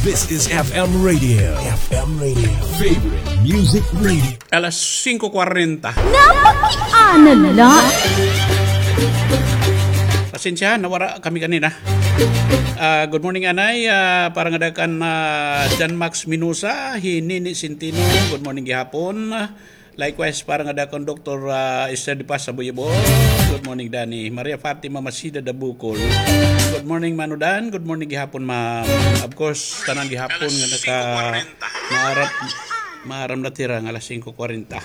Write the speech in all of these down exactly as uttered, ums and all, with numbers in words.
This is F M Radio. F M Radio. Favorite Music Radio. Alas singko kwarenta. Napakiana la. Pasensya, nawara kami kanina. Ah, good morning, Anay. Ah, para ngada kan, ah, John Max Minusa, hi Nini Centino. Good morning gihapon. Likewise, para ngada kan Doktor, ah, Esther de Paz Sabuyibo. Good morning, Danny. Maria Fatima Masida Dabukol. Good morning, Mano Dan. Good morning gihapon, ma'am. Of course, tanan gihapon nga naka-, maaram, maaram na tira nga alas singko kwarenta.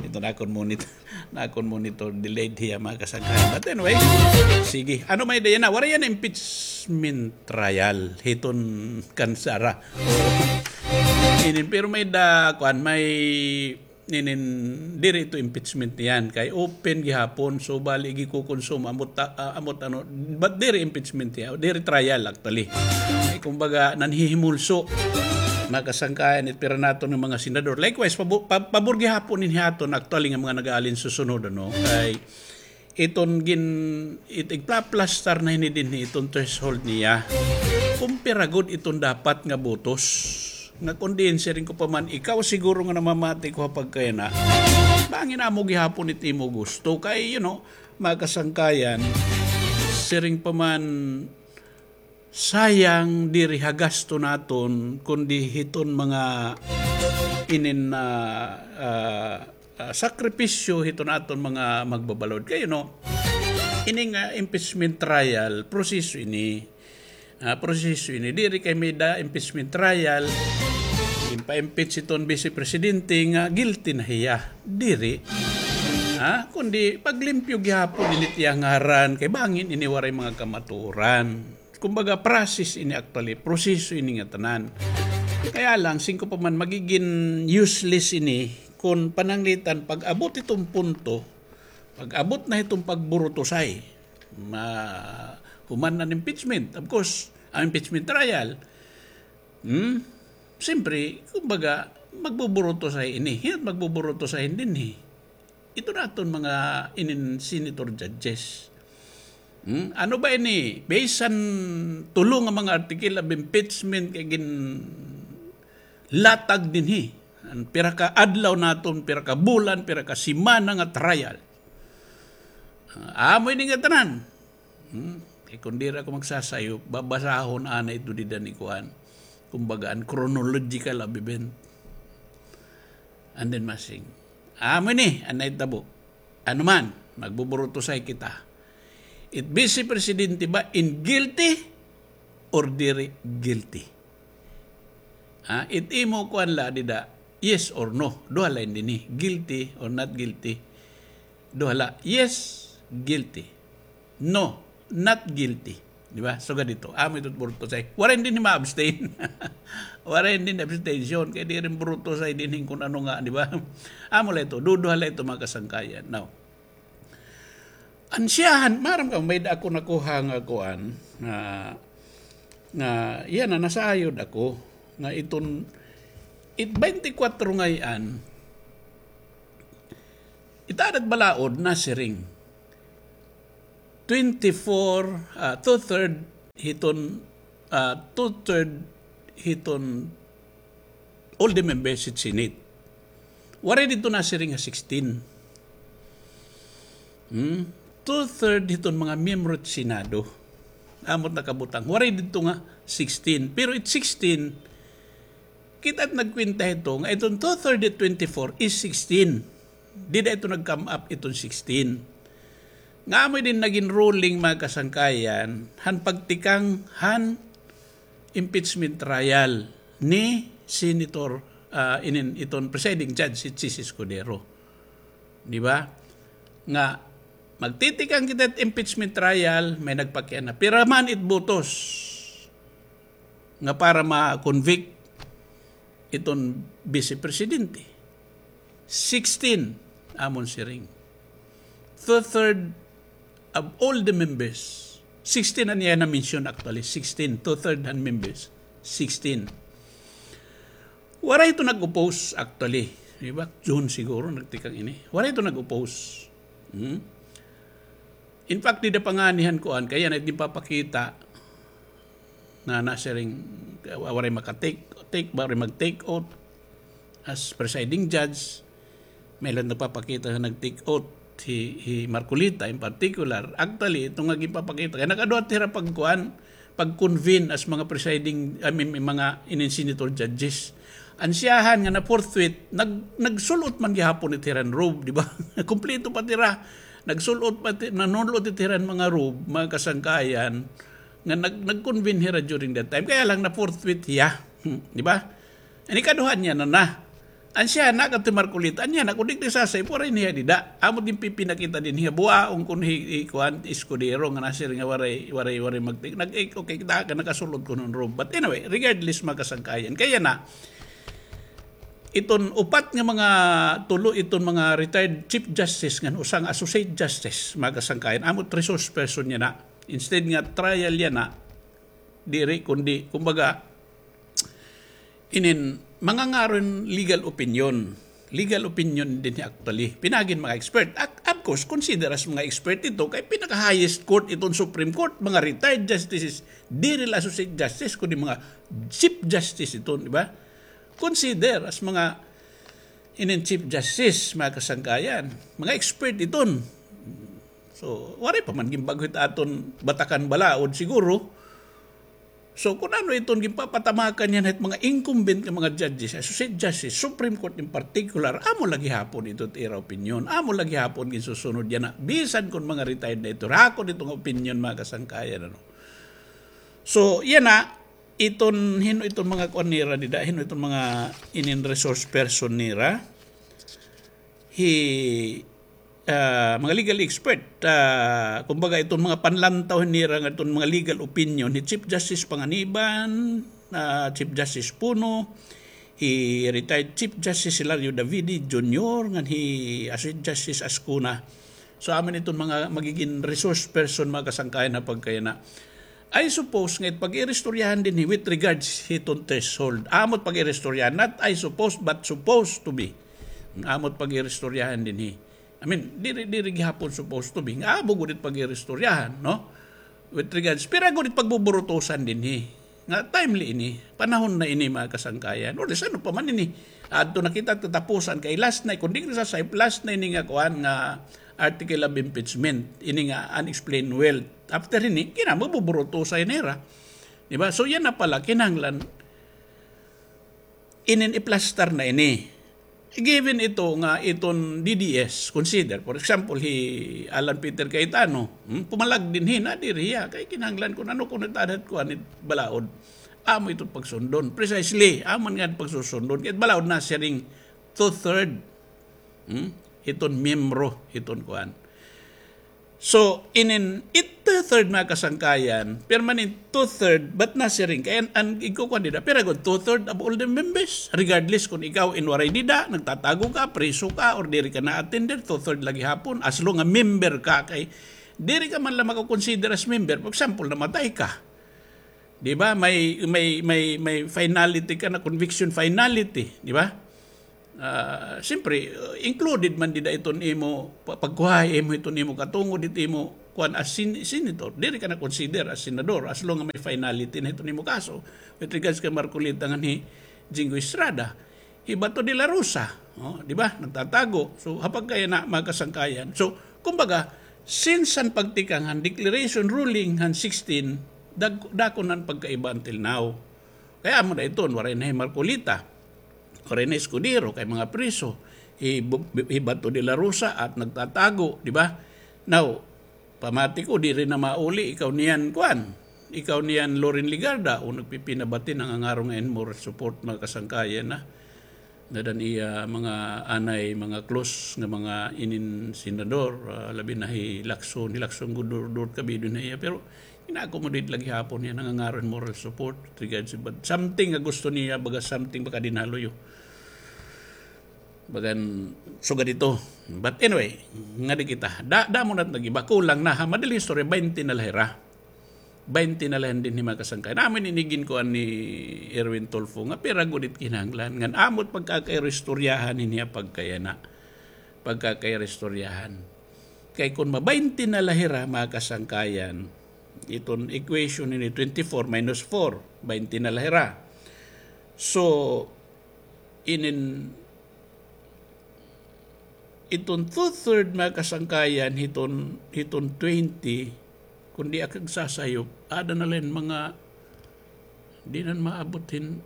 Ito na akon monitor, na akon monitor, delayed hiya, mga kasangkayan. But anyway, sige. Ano may da yana? Waray yana impeachment trial hiton kan Sara. Inin, pero may da, kuan, may, inin, diri ito impeachment niyan. Kay open gihapon, so bali gikukonsumo, ambot ta-, ah, ambot ano, but diri impeachment niya, diri trial actually. Ay, kumbaga, nanhihimulso, mga kasangkayan, it pira naton nga mga senador. Likewise, pabo-, pa-, pabor gihapon inin hiaton actually nga mga nag-aalin susunod, ano, kay iton gin-, it-, igpaplastar na hini dinhi iton threshold niya. Kumpira gud iton dapat nga botos. Nga kon diin, siring ko pa man, ikaw siguro nga namamati ko ha pagkayana, bangin amo gihapon it imo gusto. Kay, you know, mga kasangkayan, siring pa man, sayang diri ha gasto naton, kundi hiton mga inin, ah, ah, ah, sakripisyo hiton aton mga magbabalod. Kay, you know, ini nga impeachment trial, proseso ini. Ah, proseso ini. Diri kay may da impeachment trial, impa-impeach hiton Vice Presidente nga guilty na hiya. Diri. Ha? Kundi paglimpyo gihapon ini it iya ngaran, kay bangin ini waray mga kamatuoran. Kumbaga, process ini actually, proseso ini nga tanan. Kaya lang, singko pa man, magigin useless ini kon pananglitan pag-abot hiton punto, pag-abot na hiton pagburutosay, ma-, human na an impeachment. Of course, an impeachment trial, hmm? Siyempre, kumbaga, magbuburutosay ini. Hin-o it magbuburutosay dinhi? Ito naton mga inin senator judges. Hmm? Ano ba ini? Based han tulo nga mga article of impeachment kay ginlatag dinhi. An pira ka adlaw naton, pira ka bulan, pira ka semana nga trial. Ah, amo ini nga tanan. Hmm? Kay kon diri ako magsasayop, babasahon anay ito dida ni kuan. Kumbaga, an chronological of event. And then masing, amo ini an nahitabo. Ano man, magbuburutosay kita. It Vice Presidente ba in guilty or diri guilty? Ha? It imo kuan la dida, yes or no. Duha la ini dinhi, guilty or not guilty. Duha la, yes, guilty. No, not guilty. Di ba? Sugad ito. Amo ito burutosay. Waray dinhi ma-abstain. Waray dinhi abstention. Kay diri burutosay dinhi kon ano nga, di ba? Amo la ito. Duduha la ito, mga kasangkayan. Now, an siyahan, maaram ka, may da ako nakuha nga kuan, nga, nga, yana, nasayod ako, nga iton, it twenty-four ngay-an, it adat balaod nasiring. Twenty-four, ah, two-third hiton, ah, two-third hiton all the members hit Senate. Waray didto nasiring nga sixteen. Hmm? Two-third hiton mga miyembro hit Senado. Amo it nakabutang. Waray didto nga sixteen. Pero it sixteen, kita it nagkwenta hito nga iton two-third hit twenty-four is sixteen. Dida ito nag-come up iton sixteen. Nga amo ini nagin ruling, mga kasangkayan, han pagtikang han impeachment trial ni Senator, ah, inin, iton presiding judge, si Chiz Escudero. Di ba? Nga, magtitikang kita hit impeachment trial, may nagpakiana. Pira man it botos nga para ma-convict iton Vice Presidente? Sixteen, amon siring. Two-third of all the members. Sixteen an iya na-mention actually. Sixteen. Two-third han members. Sixteen. Waray ito nag-oppose actually. Di ba? June siguro nagtikang ini. Waray ito nag-oppose. Hmm? In fact, dida pa ngani han kuan, kay yana it ginpapakita. nga nasiring, ah, waray maka-take, take, waray mag-take oath as presiding judge. May lang nagpapakita nga nag-take oath hi, hi Marcoleta in particular. Actually, ito nga ginpapakita, kay nakaduha hira pagkuan, pag-convene as mga presiding, I mean, may mga inin senator judges. An siyahan nga na-forthwith, nag-, nagsul-ot man gihapon it hiran robe, di ba? Kumpleto pa hira. Nagsul-ot pa ti-, nanul-ot it hiran mga robe, mga kasangkayan, nga nag-, nag-convene hira during that time. Kaya lang na-forthwith hiya. Hmm, di ba? An ikaduha niya na na. An siya na, kadto Marcoleta, an niya na, kun di ka sasay, waray niya dida. Amo din pipinakita dinhi, buaon kun hi, hi, kuan, Escudero, nga nasiring nga waray, waray, waray mag-, nag-, eh, okay, kita ka, nakasul-ot kuno hin robe. But anyway, regardless, mga kasangkayan. Kaya na, iton upat nga mga tulo, iton mga retired Chief Justice, ngan usa nga Associate Justice, mga kasangkayan. Amo it resource person niya na. Instead nga trial niya na, diri, kundi, kumbaga, inin, mangangaro hin legal opinion. Legal opinion dinhi actually. Pinaagi hin mga expert. Ac-, of course, consider as mga expert ito, kay pinaka-highest court iton Supreme Court, mga retired justices, diri la Associate Justice, kundi mga Chief Justice iton, di ba? Consider as mga inin Chief Justice, mga kasangkayan, mga expert iton. So, waray pa man ginbag-o hit aton batakan balaod siguro. So, kun ano iton ginpapatamakan niyan hit mga incumbent nga mga judges, Associate Justice, Supreme Court in particular, amo la gihapon ito it ira opinion, amo la gihapon ginsusunod yana, bisan kun mga retired na ito, hakon ito nga opinion, mga kasangkayan, ano. So, yana, iton, hin-o iton mga kuan nira dida, hin-o iton mga inin resource person nira. Hi, ah, mga legal expert, ah, kumbaga, iton mga panlantaw nira nga iton mga legal opinion, hi Chief Justice Panganiban, ah, Chief Justice Puno, hi retired Chief Justice Hilario Davide Junior, ngan hi Associate Justice Ascuna. So, amo iton mga magigin resource person, mga kasangkayan, ha pagkayana. I suppose nga it pag-iristoryahan dinhi with regards hiton threshold. Amo it pag-iristoryahan, not I suppose, but supposed to be. Amo it pag-iristoryahan dinhi. I mean, diri, diri gihapon supposed to be. Nga amo gud it pag-iristoryahan, no? With regards, pira gud it pagbuburutusan dinhi. Nga timely ini, panahon na ini, mga kasangkayan. Or else, ano pa man ini? Adto na kita katapusan kay last na, kun di kita sa last na ini nga kuan nga article of impeachment, ini nga unexplained wealth. After ini, kina magbuburutusan nira. Di ba? So, yana pala, kinahanglan, inin iplastar na ini. Given ito nga iton D D S, consider, for example, hi Alan Peter Cayetano, hmm, pumalag dinhi na diri hiya, kay kinahanglan kun ano kun itadat kuan it balaod. Amo iton pagsundon. Precisely, amo nga pagsusundon. Kay balaod nasiring two-third, hmm, iton miyembro, iton kuan. So, inin it two-third, mga kasangkayan, permanent two-third, but nasiring kay an, an igkukuan dida, pira gud, two-third of all the members, regardless kun ikaw in waray dida, nagtatago ka, priso ka, or diri ka na-attender, two-third la gihapon, as long nga member ka, kay diri ka man la makakonsider as member. For example, namatay ka. Di ba? May, may, may, may finality ka na, conviction finality, di ba? Ah, siyempre, uh, included man dida iton imo pa-, pagkuha imo iton imo katungod it imo kuan as sen-, senator. Diri ka na consider as senador as long nga may finality na iton imo kaso. With regards kay Marcoleta ngan hi Jinggoy Estrada, hi Bato de la Rosa, oh, di ba? Nagtatago. So, ha pagkayana, mga kasangkayan. So, kumbaga, since an pagtikang han declaration ruling han sixteen, dag-, dako na an pagkaiba until now. Kay amo na iton, waray na hi Marcoleta. Waray na Escudero, kay mga priso. Hi Bu-, hi Bato de la Rosa at nagtatago, di ba? Now, pamati ko, diri na mauli, ikaw niyan, kuan. Ikaw niyan, Loren Legarda, o nagpipinabati, nangangaro nga hin moral support, mga kasangkayan na. Nadan iya mga anay, mga close nga mga inin senador, ah, labi na hi Lacson, hi Lacson gud dur-, dur-, kabido na iya. Pero ina-accommodate la gihapon niya, nangangaro hin moral support, regards, but something nga gusto niya, baga something baka dinhaluyo. Bagan, sugad ito. But anyway, ngadi kita. Da-, damo na it nag-iba. Kulang na, ha? Madaling istorya, baynte na la hira. Baynte na la dinhi, mga kasangkayan. Amo ini ginkuan ni Erwin Tulfo nga pira gud it kinahanglan. Ngan amo it pagkakairistoryahan ini, ha, pagkayana. Pagkakairistoryahan. Kay kun mabaynte na la hira, mga kasangkayan, Iton equation ini twenty-four minus four, baynte na la hira. So, inin, iton two-third, mga kasangkayan, hiton, hiton twenty, kun di ak nagsasayop, ada na la hin mga, di na maabot hin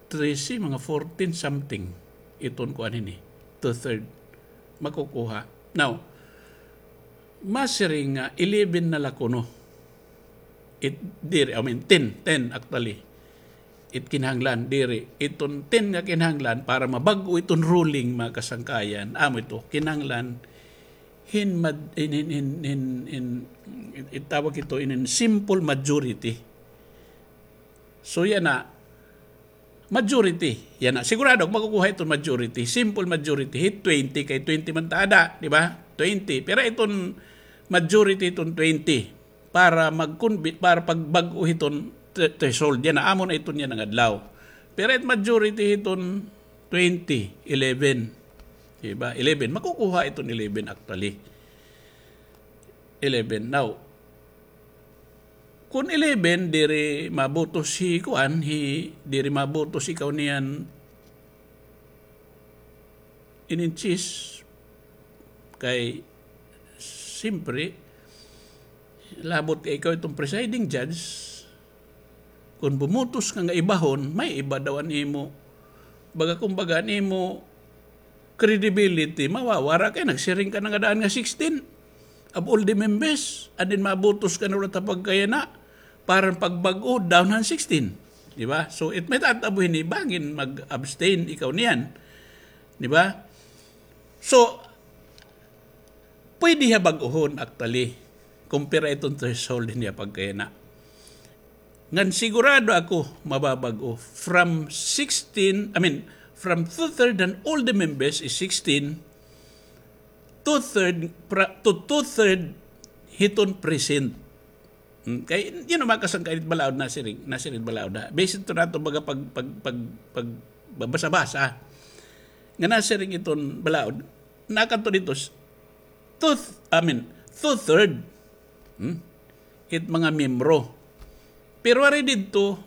trese, mga fourteen something. Iton kuan hini, two-third. Makukuha. Now, masiring nga eleven na la kuno. It, diri, I mean, ten, ten actually. It kinahanglan, diri. Iton ten nga kinahanglan para mabag-o iton ruling, mga kasangkayan. Amo ito, kinahanglan hin mad-, hin, hin, hin, hin, hin, it, itawag ito inin simple majority. So, yana, majority. Yana, sigurado ak makukuha iton majority. Simple majority. Hit twenty, kay twenty man ta ada, di ba? Twenty. Pero iton majority iton twenty para mag-, para pagbag-o hiton thre-, threshold. Yana, amo na iton yana nga adlaw. Pero it majority hiton twenty, eleven. Di ba? Eleven. Makukuha iton eleven actually. Eleven. Now, kun eleven, diri mabutos hi kuan, hi, diri mabutos ikaw niyan inin chess, kay, siyempre, labot kay ikaw iton presiding judge, kun bumutos ka nga ibahon, may iba daw an imo. Baga, kumbaga, an imo credibility mawawara kay nagsiring ka na nga daan nga sixteen of all the members, and then mabutos ka na ulat ha pagkayana, para pagbag-o, down han sixteen. Di ba? So, it may tatabo hini, bangin mag-abstain ikaw niyan. Di ba? So, pwede hiya bag-ohon, actually, kumpara iton threshold niya pagkayana. Ngan sigurado ako mababag-o. From sixteen, I mean, from two-third and all the members is sixteen, two-third, pra-, to two-third hiton present. Hmm, kay, you know, mga kasangkayan, balaod nasiring, nasiring balaod, ha. Based to nato baga pag, pag, pag, pag, babasa-basa. Nga nasiring iton balaod, nakadto didto, s-, two th-, I mean, two-third, hmm, it mga miyembro. Pero waray didto,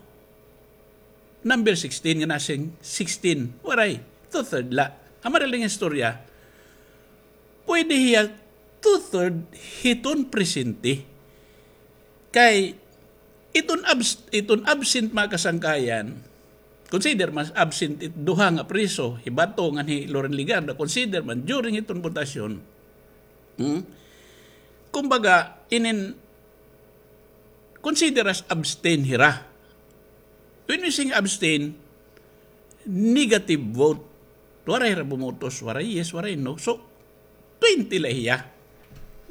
number sixteen, nga nasiring sixteen. Waray, two-third la. Ha madaling istorya, pwede hiya two-third hiton presente. Kay iton abs-, iton absent, mga kasangkayan, consider man absent it duha nga preso, hi Bato ngan hi Loren Legarda, consider man during iton botasyon. Hmm? Kumbaga, inin consider as abstain hira. When we sing abstain, negative vote. Waray hira bumutos, waray yes, waray no. So, twenty la hiya.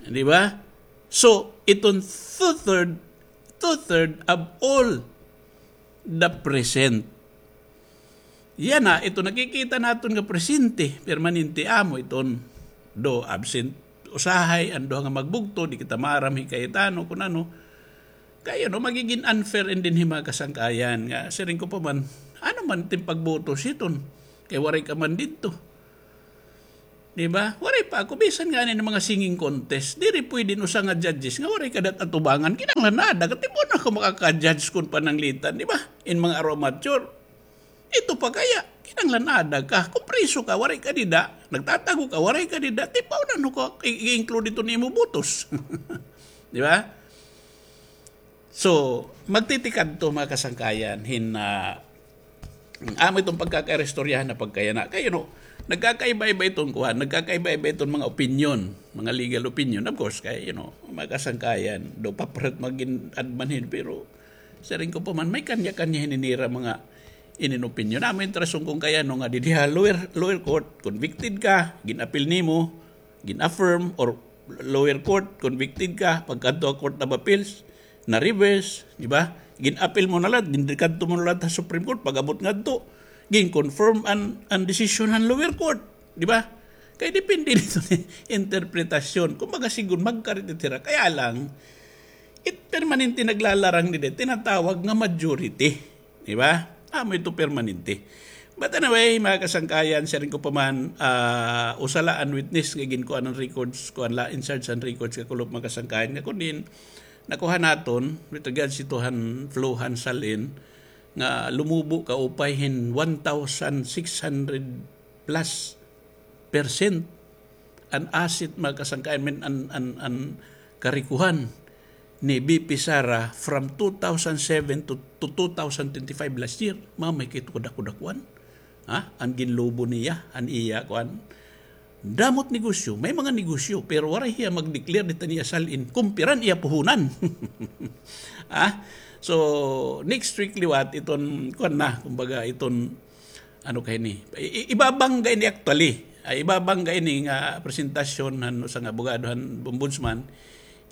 Di ba? So, iton two-third, two-third of all the present. Yana, ito nakikita naton nga presente, permanente amo iton do absent. Usahay, an duha nga magbugto, di kita maaram hi Cayetano kun ano. Kay, you know, magigin unfair in dinhi mga kasangkayan nga, siring ko pa man, ano man it im pagboto siton? Kay waray ka man didto. Di ba? Waray pa ako, bisan nga inin mga singing contest, diri pwede in usa nga judges nga waray ka dat atubangan, kinahanglan naada ka, tibuon ako makaka-judge kun pananglitan, di ba? In mga amateur. Ito pa kaya, kinahanglan naada ka. Kun preso ka, waray ka dida, nagtatago ka, waray ka dida, tibuon ako i-, i-include ito nimo botos. Di ba? So, magtitikadto, mga kasangkayan, hin, ah, amo iton pagkakairistoryahan na pagkayana. Kay, you know, nagkakaiba-iba iton kuan, nagkakaiba-iba iton mga opinion, mga legal opinion. Of course, kay, you know, mga kasangkayan, do paparat magin adman hin, pero siring ko pa man, may kanya-kanya hin nira mga inin opinion. Amo it rason kun kay ano nga didi ha lower, lower court, convicted ka, gin-appeal nimo, gin-affirm, or lower court, convicted ka, pagkadto ha Court of Appeals, na-reverse, di ba? Gin-appeal mo na la, gin-, kadto mo na la ha Supreme Court, pag-abot ngadto, gin-confirm an, an decision han lower court, di ba? Kay depende dito ni interpretasyon. Kumbaga, sigun magkarit it hira. Kaya lang, it permanente naglalarang didi, tinatawag nga majority. Di ba? Amo ito permanente. But anyway, mga kasangkayan, siring ko pa man, ah, usa la an witness nga ginkuan an records, kuan la, in charge an records, kakulop, mga kasangkayan, nga kun diin nakuha naton with regards ito han flow han SALN, nga lumubo kaupay hin one thousand six hundred plus percent an asset, mga kasangkayan, mean, an, an, an karikuhan ni V P Sara from two thousand seven to, to two thousand twenty-five, last year. Mamay kay ito kadakudakuan. Ha? An ginlubo niya, an iya, kuan. Damo it negosyo, may mga negosyo, pero waray hiya mag-declare dida han iya SALN kun pira an iya puhunan. Ha? So, next week liwat, iton, kuan na, kumbaga, iton, ano kay ni, i-, i-, ibabangga ini actually. Ay, ibabangga ini nga presentasyon han usa nga abogado han ombudsman.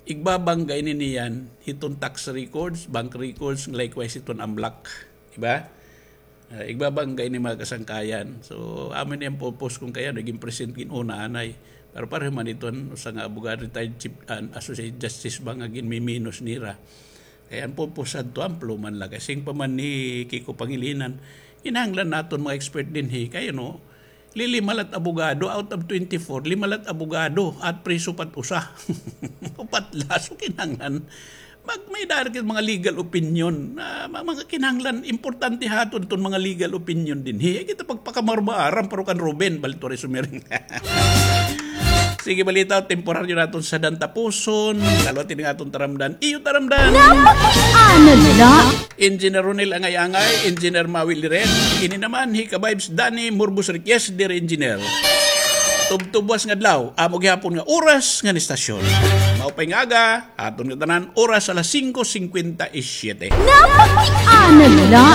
Igbabangga ini niyan hiton tax records, bank records, likewise hiton AMLAC. Di ba? Ah, igbabangga ini, mga kasangkayan. So, amo ini an purpose kon kay ano, gin-present gin-una anay. Pero pareho man iton usa nga abogado, retired chief, an Associate Justice ba nga ginmiminus nira. Kay an purpose hadto, ample man la. Kay siring pa man ni Kiko Pangilinan, kinahanglan naton mga expert dinhi. Kay ano, lilima la it abogado out of twenty-four, lima la it abogado, at preso pa it usa. Upat la, so kinahanglan mag-, may-ada kita mga legal opinion. Ah, ma-, mga kinahanglan, importante ha aton iton mga legal opinion dinhi. Ay, kita pagpakamarmaaram, pero kan Ruben, bali ito rin sumiring. Sige, balita, temporaryo naton sadang tapuson. Kaluwaton nga aton taramdan. Iyo taramdan. Napakit-an na la. Engineer Ronel Angay-Angay, Engineer Maui Liret. Ini naman hi ka-vibes Danny Murbos Riquez, dear Engineer. Tubtubwas nga adlaw, amo gihapon nga oras ngan istasyon. Maupay nga aga. Aton ngatanan, oras alas singko singkwenta y siyete. Napakit-an na la.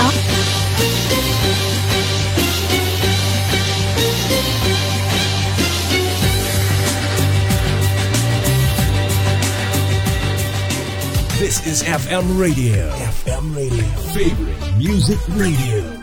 This is F M Radio. F M Radio. Favorite Music Radio.